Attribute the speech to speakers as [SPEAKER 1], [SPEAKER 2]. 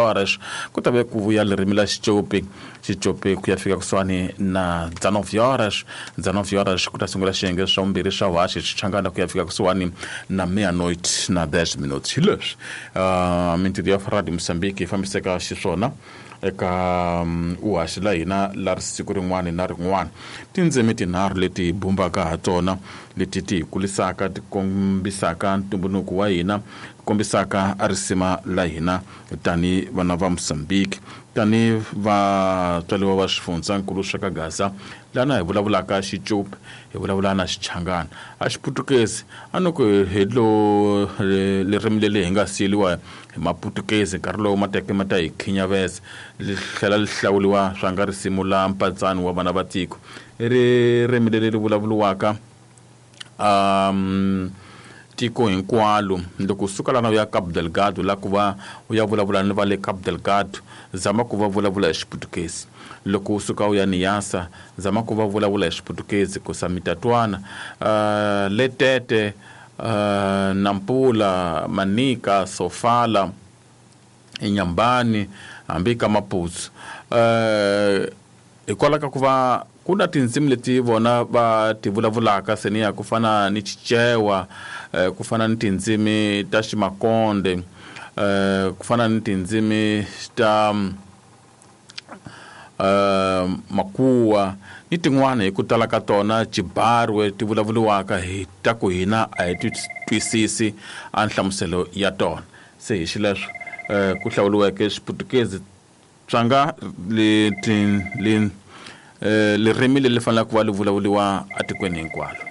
[SPEAKER 1] horas ku ta ve ku vuya ririmi la xicopi xicopi ku ya fika kusuhani na 19 horas 19 horas ku ta sungula xiyenge swa vumbirhi swa vuhaxi xichangana ku ya fika kusuhani na meia-noite na 10 minutos hi leswi mintirho ya radio Mozambique yi fambiseka xiswona eka uhaxi la hina la siku rin'wana na rin'wana tindzimi tinharhu leti hi bumbaka ha tona leti ti hi kulisaka ti kombisaka ntumbuluko wa hina kombisaka a risima la hina tani vana va Mozambique tani vatswariwa va swifundzankulu swa ka Gaza lana hi vulavulaka xicopi hi vulavula na xichangana a xiputukezi a no ku hi lo ririmi leri hi nga siyeliwa hi maputukezi nkarhi lowu ma teke ma ta hi khinyaveza li tlhela li hlawuriwa swa nga risimu la mpatsano wa vana va tiko i ririmi leri ri vulavuriwaka tiko hinkwalo loko u suka lana u ya Cabo Delgado la ku va u ya vulavula ni va le Cabo Delgado zama ku va vulavula hi xiputukezi loko u suka u ya Niassa zama ku va vulavula hi xiputukezi ku sa mi ta twana Letete Nampula Manica Sofala Inhambane hambi ka Maputo hikwalaho ka ku va ku na tindzimi leti vona va ti vulavulaka seniya ku fana ni Chichewa ku fana ni tindzimi ta Ximakonde ku fana ni tindzimi ta Makuwa ni tin'wana hi ku tala ka tona Chibarwe ti vulavuriwaka hi ta ku hina a hi ti twisisi a nhlamuselo ya tona se hi xileswo ku hlawuriweke Xiputukezi tswanga leti ririmi leri faneleke ku va li vulavuriwa etikweni hinkwalo.